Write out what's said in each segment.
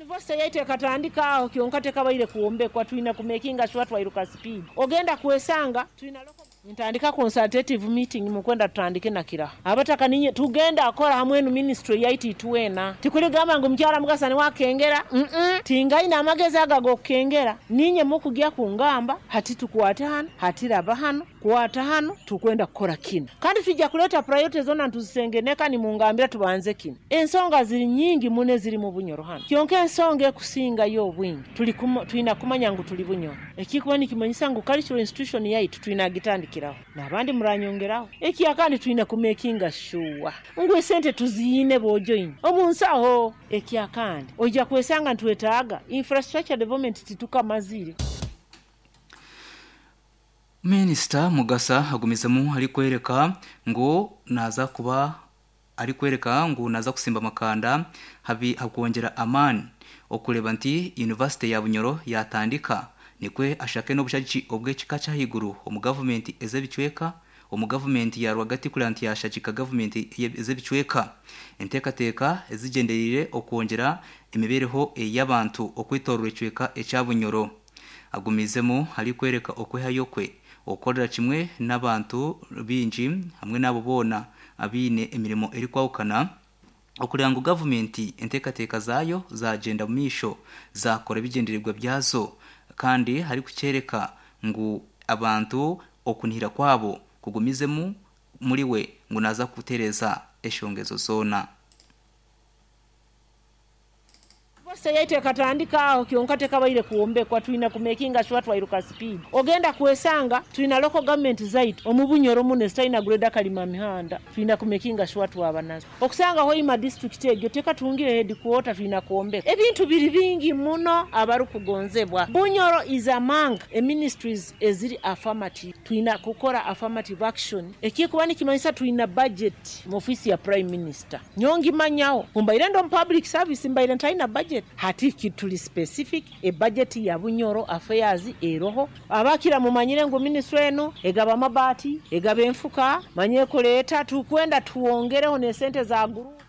University yaitu ekatandika aho kyonka tekabaire kwombekwa, twina kumekinga sure twairuka speed. Ogenda kwesanga twina local. Nintandika consultative meeting mukwenda tutandike na Kiraha. Abataka ninye tugenda akora hamwe enu ministry yaitu itwena. Tikuligamba ngu mukyara Mugasa niwe akengera, mm tingaine amagezi ago ag'okukengera. Ninye mukugya kungamba hati tukwate hanu, hati raba hanu, kwata hanu, tukwenda kukora kinu. Kandi twija kuleeta priority zoona nituzisengeneka nimungambira tubanze kinu. Ensonga ziri nyingi muno eziri mu Bunyoro hanu. Kyonka ensonga ekusingayo obwingi tuli twina kumanya ngu tuli Bunyoro. Ekikuba nikimanyisa ngu cultural institution yaitu twina kugitandikiraho. N'abandi muranyongeraho. Ekyakandi twine kumekinga shuwa ngu esente tuziine bojoini omu nsaho. Ekyakandi oija kwesanga nitwetaaga infrastructure development titukamazire. Minisita Mugasa agumizemu arikworeka ngu naaza kuba arikworeka ngu naaza kusimba amakanda habi ahakwongyera amaani okureeba nti yunivasite ya Bunyoro yatandika nikwo ashake n'obushagiki obw'ekika ky'ahaiguru omu gavumenti ez'ebicweka omu gavumenti ya rwagati kureba nti yashagika gavumenti ez'ebicweka enteekateeka ezigyendereire okwongyera emibeereho y'abantu okwetoorora ekicweka ekya Bunyoro. Agumiizemu arikworeka okwehayo kwe okukorera kimwe n'abantu baingi hamwe n'abo boona abaine emirimo erikwahukana okureba ngu gavumenti enteekateeka zaayo zaagyenda omu maisho zaakora ebigyendererwa byazo kandi arikukyoreka ngu abantu okunihira kwabo kugumizemu muriwe ngu naaza kutereeza eshonga ezo zoona. University yaitu ekatandika aho kyonka tekabaire kwombekwa, twina kumekinga sure twairuka speed. Ogenda kwesanga twina local government zaitu omu Bunyoro muno ezitaina grader kalima mihanda, twina kumekinga sure twaba nazo. Okusanga Hoima district egyo tekatungire headquarter twina kwombeka. Ebintu biri bingi muno abarukugonzebwa. Bunyoro is among e ministries eziri affirmative. Twina kukora affirmative action ekikuba nikimanyisa twina budget mu office ya Prime Minister. Nyowe ngimanyaho ku mbaire ndi omu public service mbaire ntaina budget. Hati turi specific, e budget ya Bunyoro Affairs eroho. Abakira mumanyire ngu ministry enu egaba amabaati, egaba enfuka, manya ekureeta, tukwenda twongereho n'esente za group.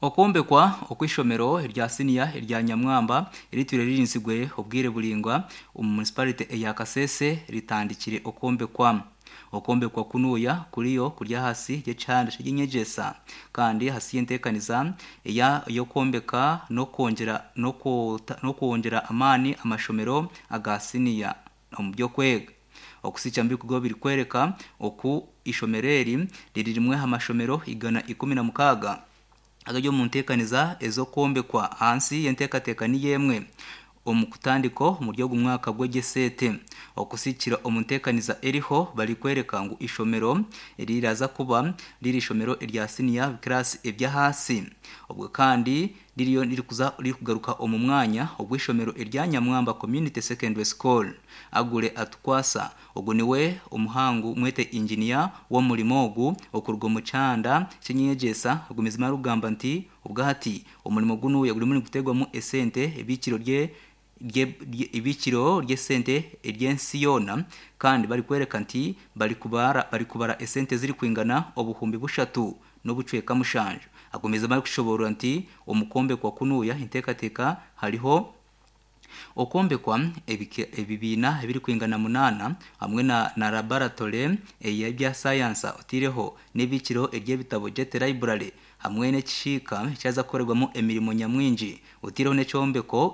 Okwombekwa okw'eishomero erya siniya erya Nyamwamba eritwire ririnzirwe obwire buraingwa omu munisiparite eya Kasese ritandikire okwombekwa. Okwombekwa kunuya kuriyo kuri ahansi y'ekihanda ky'eby'enyegyesa kandi ahansi y'enteekaniza ey'okwombeka n'okwongyera amaani amashomero aga siniya omu by'okwega. Okusikya omu bikugo birikworeka oku eishomero eri riri rimwe aha mashomero 116 agari omu nteekaniza ez'okwombekwa ahansi y'enteekateeka niyo emwe omu kutandika omuri ogu mwaka gw'egyesente. Okusikira omu nteekaniza eriho barikworeka ngu eishomero riraza kuba riri eishomero erya siniya kiraasi eby'ahansi obwo kandi ririyo ririkuza ririkugaruka omu mwanya ogw'eishomero erya Nyamwamba Community Secondary School. Agure Atukwasa, ogu niwe omuhangu mwete inginiya w'omurimo ogu okuruga omu kyanda ky'enyegyesa agumizemu arikugamba nti obwahati omurimo gunuya gurimu niguteerwamu esente eibikiro rye eibikiro ry'esente ery'ensi yoona kandi barikworeka nti barikubara barikubara esente ezirikwingana 3000 n'obucweka 7. Agumizemu arikushoboorora nti omu kwombekwa kunuya enteekateeka hariho okwombekwa ebibiina ebirikwingana 8 hamwe na, na laboratory ey'ebya sayansa otaireho n'eibikiro ery'ebitabo Jet Library hamwe n'ekishiika ekyaza kukorerwamu emirimo nyamwingi otaireho n'ekyombeko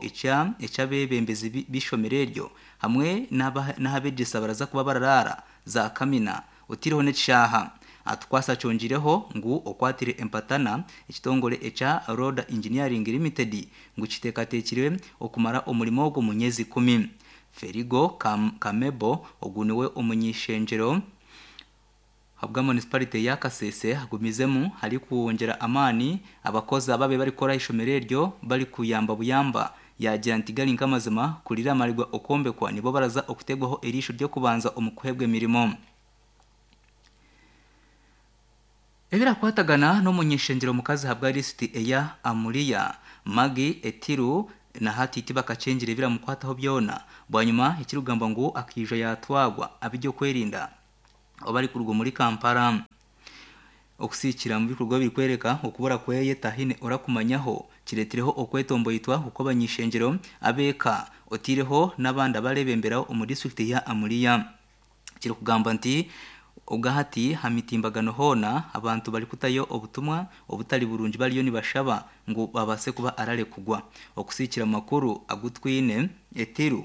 eky'abeebembezi b'eishomero eryo hamwe n'ahabegyesa baraza kuba bararaara za kamina otaireho n'ekishaaha. Atukwasa akyongireho ngu okwatire empatana ekitongore ekya Roda Engineering Limited ngu kiteekateekire okumara omurimo ogu omu myezi 10. Ferigo Kamebo ogu niwe omuny'eishengyero ahabwa munisiparite ya Kasese agumizemu arikwongyera amaani abakozi ababaire barikukora aha ishomero eryo barikuyamba buyamba yaagira nti gari nk'amazima kuriramarigwa okwombekwa nibo baraza okuteerwaho eriisho ry'okubanza omu kuheebwa emirimo. Ebirakwatagana n'omuny'eishengyero mukazi ahabwa lisiti eya Amuria, Maggie Etiru na hati tibakakyengire ebiramukwataho byona bwanyima ekirikugambwa ngu akaija yatwagwa ab'ebyokwerinda obu arikuruga omuri Kampala. Okusiikira mu bikorwa birikwereka okubura kweye tahine orakumanyaho kiretireho okwetomboitwa okw'abanyishengyero abeeka otiireho n'abandi abarebembera omu disitulikiti ya Amuria. Kirikugamba nti ogahati ha mitimbagano hoona abantu barikutayo obutumwa obutari burungi bariyo nibashaba ngu babase kuba ararekugwa. Okusiikira makuru agutwine Etiru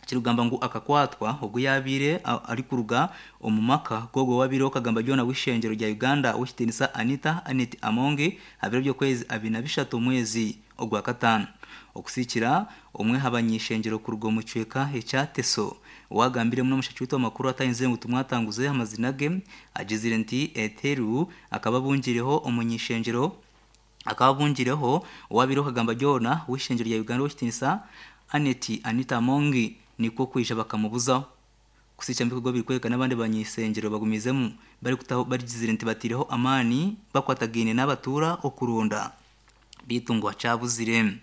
kirikugamba ngu akakwatwa ogu yabiire arikuruga omu maka g'ogwo wabiireho kagamba byona w'ishengyero rya Uganda w'ekitiinisa Anita Annet Amongi ha biro by'okwezi 23 omwezi ogwa kataano. Okusiikira omwe ha banyishengyero kuruga omu kicweka ekya Teso owagambiremu n'omushaki waitu amakuru atayenzire ngu tumwatanguze amazina ge agizire nti Eteru akaba abungireho omunyishengyero akaba abungireho owabiireho kagamba byona w'ishengyero rya Uganda w'ekitiinisa Annet Anita Amongi nikwo kwija bakamubuzaho. Kusiikya mu bikorwa birikwereka n'abandi banyishengyero bagumizemu barikutaho barigizire nti batiireho amaani bakwatagaine n'abatuura okuronda beitu ngu akyabuzire.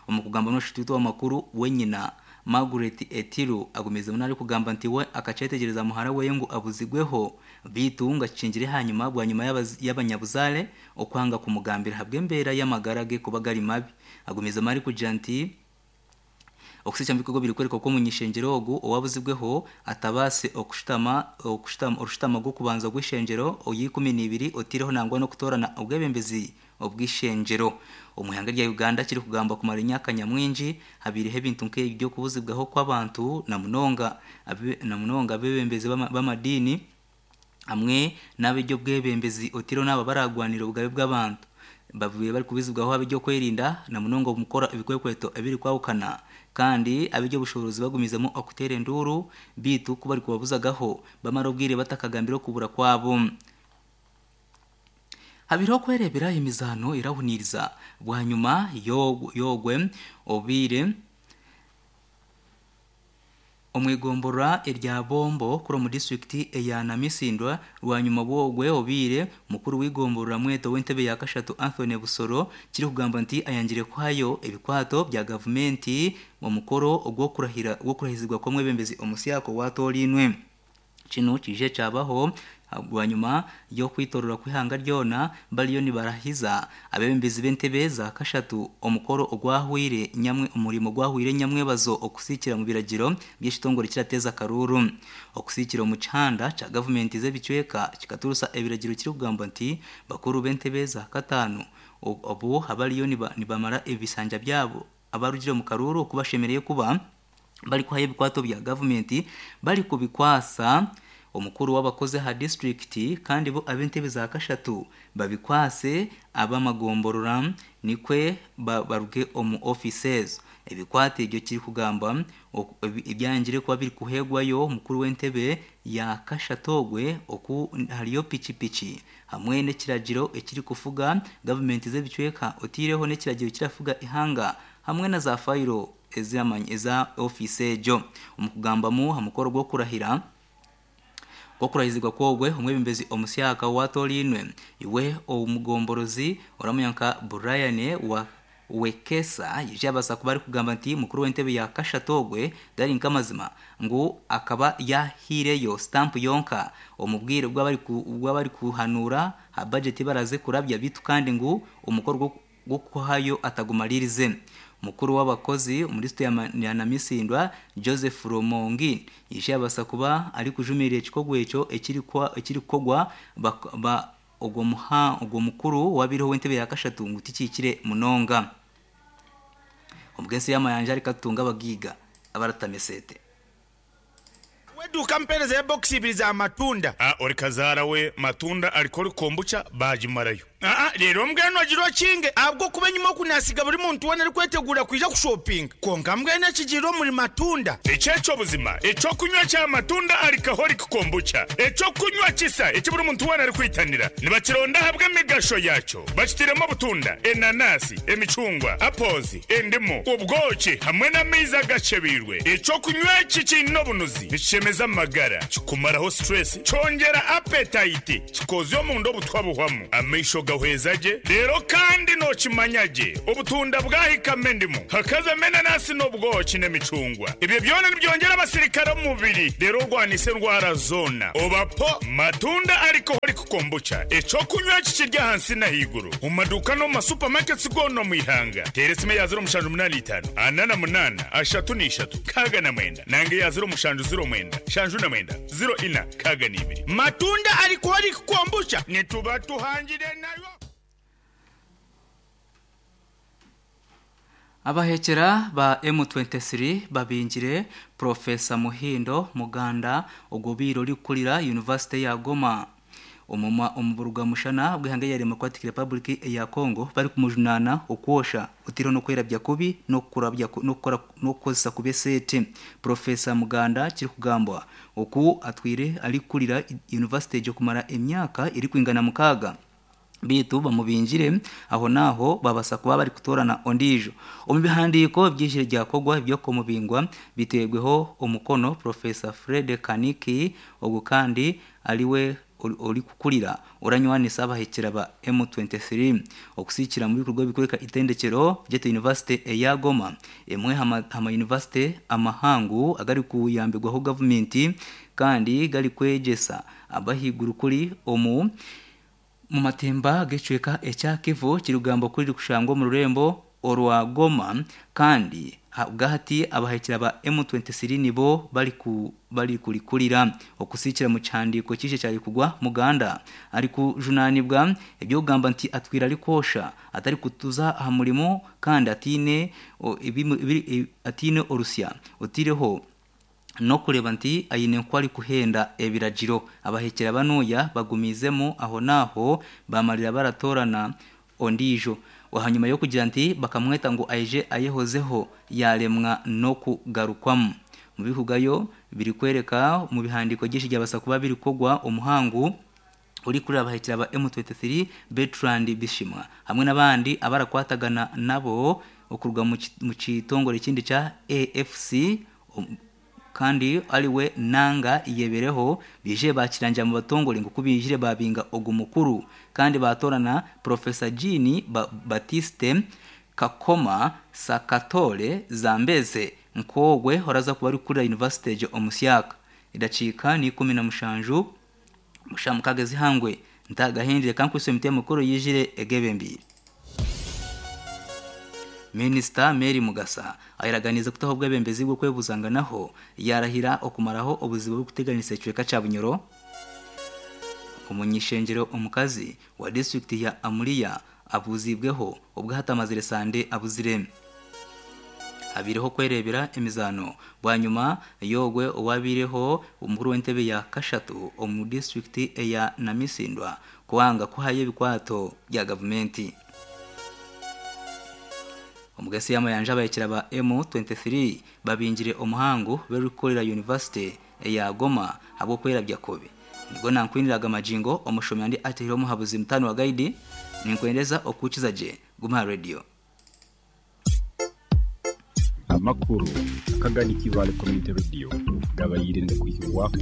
Omu kugamba n'omushatu waitu w'amakuru wenyina Margaret Etiru agumizemu narikugamba nti we akakyetegyereza muhara weye ngu abuzigweho beitu ngu akikingire hanyuma bwanyima y'abanyabuzaare okwanga kumugambira ahabw'embeera y'amagara ge kuba gari mabi. Agumizemu arikugira nti okusiikya mu bikorwa birikwereka oku omunyishengyero ogu owabuzibweho atabaase okushutama okushutama orushutama rw'okubanza rw'ishengyero oya12 otiireho nangwa n'okutoorana obwebembezi obw'ishengyero. Omu ihanga rya Uganda kirikugamba kumara emyaka nyamwingi habiireho ebintu nk'ebi by'okubuzibwaho kw'abantu na munonga abebembezi b'amadiini hamwe n'ab'eby'obwebembezi otiireho n'abo abaragwanira obugabe bw'abantu. Babiire barikubuzibwaho ab'ebyokwerinda na munonga omu kukora ebikwekweto ebirikwahukana kandi ab'eby'obushoboorozi bagumizemu okuteera enduuru beitu ku barikubabuzagaho bamara obwire batakagambire okubura kwabo. Habiireho okwereebera emizaano erahuniiriza bwanyima y'ogwe obiire omwigomborora erya Bombo kuri omu disitulikiti eya Namisindwa rwanyuma bwogwe obiire mukuru w'igomborora mweto w'entebe ya kashatu Anthony Busoro kirikugamba nti ayangire kuhayo ebikwato bya gavumenti omukoro ogw'okurahira gw'okurahizibwa kw'omwebembezi omusyako watooriinwe. Kinu kije kyabaho bwanyuma y'okwitorora kw'ihanga ryona bariyo nibarahiza abebembezi b'entebe za kashatu omukoro ogwahwire nyamwe omurimo gwahwire nyamwebazo okusiikira mu biragiro by'ekitongore kirateeza akaruuru. Okusiikira omu kihanda kya gavumenti z'ebicweka kikaturusa ebiragiro kirikugamba nti bakuru b'entebe za kataano obu abariyo nibamara ebisanja byabo abarugire omu karuuru oku bashemereire kuba barikuhayo ebikwato bya gavumenti barikubikwasa omukuru w'abakozi aha disitulikiti kandi bo ab'entebe za kashatu babikwase ab'amagomborora nikwe baruge omu ofiisi ezo. Ebikwato ebyo kirikugamba ebyangire kuba birikuheebwayo omukuru w'entebe ya kashatu ogwe oku hariyo pikipiki hamwe n'ekiragiro ekirikufuga gavumenti z'ebicweka otiireho n'ekiragiro kirafuga ihanga hamwe na za fayiro eza ofiisi egyo. Omu kugambamu aha mukoro gw'okurahira gw'okurahizibwa kwogwe omwebembezi omusyaka watooriinwe iwe omugomborozi oramanya nka Brian wa Wekesa yaije yabaasa kuba arikugamba nti mukuru w'entebe ya kashatu ogwe gari nk'amazima ngu akaba yahiireyo sitampu yonka omu bwire bw'abarikuhanuura ha bajeti baraze kurabya beitu kandi ngu omukoro gw'okuhayo atagumaririze. Mukuru w'abakozi omu disitulikiti ya Namisindwa Joseph Romongi yaije yabaasa kuba arikujumirira ekikorwa ekyo ekirikukorwa ogwo mukuru wabiireho w'entebe ya kashatu ngu tikihikire munonga. Omugyensi y'amayanja arikutunga abagiiga abaratameseete. Weduuka mpeereza ebokisi ibiri za matunda. A Ori kazaara we matunda ariko ori kombucha baagimarayo. Aa Reero mbwenu ogire okinge ahabw'okuba enyima oku naasiga buri muntu weena arikweteguura kwija kushopinga. Kwonka mbwenu ekigiire omuri matunda. Eki eky'obuzima, eky'okunywa kya matunda Alcoholic Kombucha, eky'okunywa kisa eki buri muntu weena arikwitanira. Nibakironda ahabw'emigasho yaakyo. Bakitairemu obutunda, enanasi, emicungwa, apples, endimu, obwoki hamwe n'amaizi agakyebeirwe. Eky'okunywa eki kiine obunuzi, nikishemeza amagara, kikumaraho stress, kyongyera appetite, kikoozya omunda obutwa buhwamu, amaisho. Nogahweza gye reero kandi nokimanya gye obutunda bwahikamu endimu hakazamu enanasi n'obwoki n'emicungwa. Ebyo byona nibyongyera abasirikare omu mubiri reero orwanise endwara zoona. Oba po Matunda Alcoholic Kombucha, eky'okunywa eki kiri ahansi n'ahaiguru omu maduuka n'omu ma supermarkets goona omu ihanga. Teera esimu eya 0785 48 33 69 nanga eya 0709 79 04 62. Matunda Alcoholic Kombucha nituba tuhangire nayo. Abahekyera ba M23 babingire Professor Muhindo Muganda ogobiire orikukurira University ya Goma omu burugamushana bw'ihanga erya Democratic Republic eya Congo barikumujunaana okwosha otiireho n'okwerabya kubi n'okukozesa kubi esente. Professor Muganda kirikugambwa oku atwire arikukurira University egyo kumara emyaka erikwingana 6 bitu bamubingire aho naho babasa kuba bari kutorana ondijo. Omu bihandiko by'ijire ryakogwa by'okumubingwa bitegweho omukono Professor Fred Kaniki, ogu kandi ariwe ori kukurira oranywanisa abahekera ba M23 okusikira mu bikorwa bikoreka itendekero ry'eto University eya Goma, emwe hama university amahangu agari kuyambirwaho gavumenti kandi gari kwegyesa abahiguru kuri omu mu matemba g'ekicweka ekya Kivu kirugamba kuri kushangwa omu rurembo orwa Goma, kandi bwahati abahekera ba M23 nibo bari kurikurira okusikira mu kihandiko kije cyari kugwa Muganda ari kujunanibwa ebyo kugamba nti atwira ari kosha atari kutuza aha murimo kandi atine atine orusya otireho no kureba nti ayine nkwari kuhenda ebiragiro. Abahekera banuya bagumizemo aho naho bamarira baratorana ondijo hanyuma yo kugira nti bakamweta ngo aije ayehozeho yaremwa no kugarukwamo. Mu bihugayo biri kwereka mu bihandiko byinshi byabasa kuba biri kogwa omuhangu uri kuri abahekera ba M23 Bertrand Bishimwa hamwe n'abandi abarakwatagana nabo okurwa mu kitongore kindi cya AFC kandi ariwe nanga iyebereho bije bakiranja mu batongore ngo kubijire babinga ogu mukuru kandi batorana Professor Jean Baptiste Kakoma Sakatore Zambeze nkogwe horaza kuba ari kuri University je omusyaka. Idacika ni 17 mushamukagezi hangwe ntagahindire kankwise mite mukuru yijire egebe mbiri. Minister Mary Mugasa ayiraganiza kutaho bwebembezi bwo kwebuzanga naho yarahira okumaraho obuzibu bwo kuteganisa ecweka ca Bunyoro. Umunyishengero omukazi wa district ya Amuria abuzibweho ubwo hatamazire sande abuzire abireho kwerebera emizano bwanyuma yogwe owabireho umukuru w'entebe ya Kashatu omu district ya Namisindwa kuwanga kuhaye ebikwato bya gavumenti. Omugesi y'amayanja abayekera ba M23 babingire omuhangu berukorera University ya Goma abo kwerabya kobe. Nigo nankwiniraga majingo omushomi andi atehiro omuhabuzi mutano wa guide ninkwendeza okukiza je Guma Radio. Amakuru akagani kibale community radio gabayirinde kuhiwako.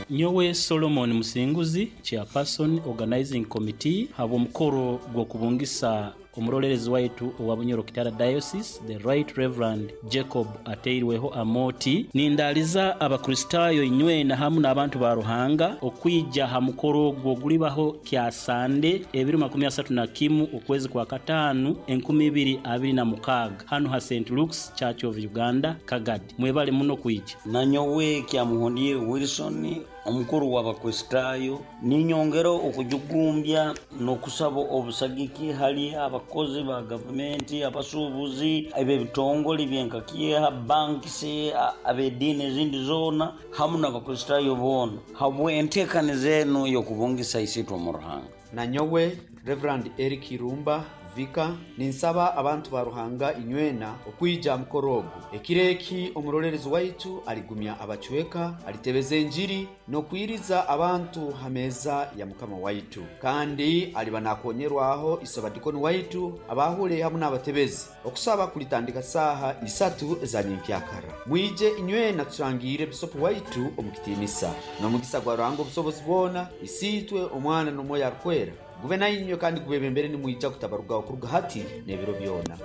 Nyowe Solomon Musinguzi, chairperson organizing committee, habo mukoro gwo kubungisa omurolerezi waitu owa Bunyoro Kitara Diocese, the Right Reverend Jacob Ateirweho Amoti. Nindaliza abakristayo inywena hamu n'abantu ba Ruhanga okwija ha mukoro gwo gulibaho kya Sande 2031 okwezi kwa 5 2026 hano ha St Luke's Church of Uganda Kagadi. Mwebale muno kwija. Nanyowe kya Muhondie Wilson omukuru w'abakristayo ninyongera okujugumbya n'okusaba obusagiki hali abakozi ba gavumenti, abasuubuzi, eb'ebitongole byenkakyeha, bankisi, ab'ediini ezindi zoona hamu n'abakristayo boona habwe enteekaniza enu y'okubungisa isitwe mu Ruhanga. Nanyowe Reverend Eric Irumba, Vika. Ninsaba abantu ba Ruhanga inywena okwija mukoro ogu. Ekiro eki omurolerezi waitu aligumya abacweka, alitebeza enjiri n'okwiriza abantu ha meeza ya Mukama waitu. Kandi aliba nakonyerwaho isobadikoni waitu abahule hamu n'abatebezi. Okusaba kulitandika saaha 3 eza nyenkyakara. Mwije inywena turangiire bisopu waitu omu kitiinisa. N'omugisa gwa Ruhanga obusobozi bwona, Isiitwe, Omwana n'Omwoyo Arikwera, gube nainywe kandi gubebembere nimwija kutabarugaho kuruga hati n'ebiro byona.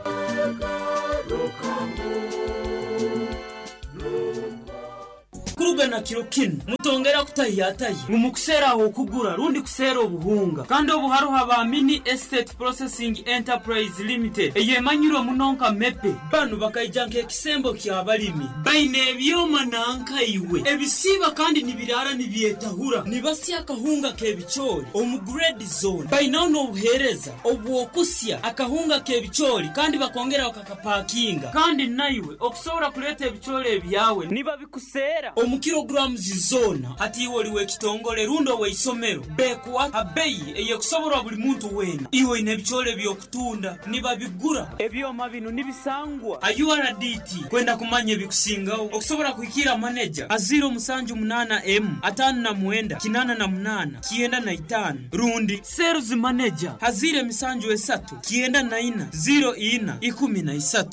Kuruga na kiro kinu mutongera kutahiyatahi ngu mukuseera okugura rundi kuseera obuhunga, kandi obu haruho aba Mini Estate Processing Enterprise Limited eyemanyirwe muno nka MEPE. Banu bakaija nk'ekisembo ky'abalimi, baine ebyoma nankaiwe ebisiiba kandi nibiraara nibyetahura, nibasya akahunga k'ebicoori omu grade zone. Bainaho n'obuheereza obw'okusya akahunga k'ebicoori kandi bakongera bakakapakinga, kandi naiwe okusobora kuleeta ebicoori ebyawe nibabikuseera omu kilograms zoona. Hati iwe oli w'ekitongole rundi ow'eisomero, bekuwa abeyi eyekusoborwa buli muntu weena. Iwe oine ebicoori eby'okutunda, nibabigura. Ebyoma binu nibisangwa a URDT. Kwenda kumanya ebikusingaho, okusobora kuhikira maneja a 078 M 59 88 95 rundi sales manager a 073 94 04 13.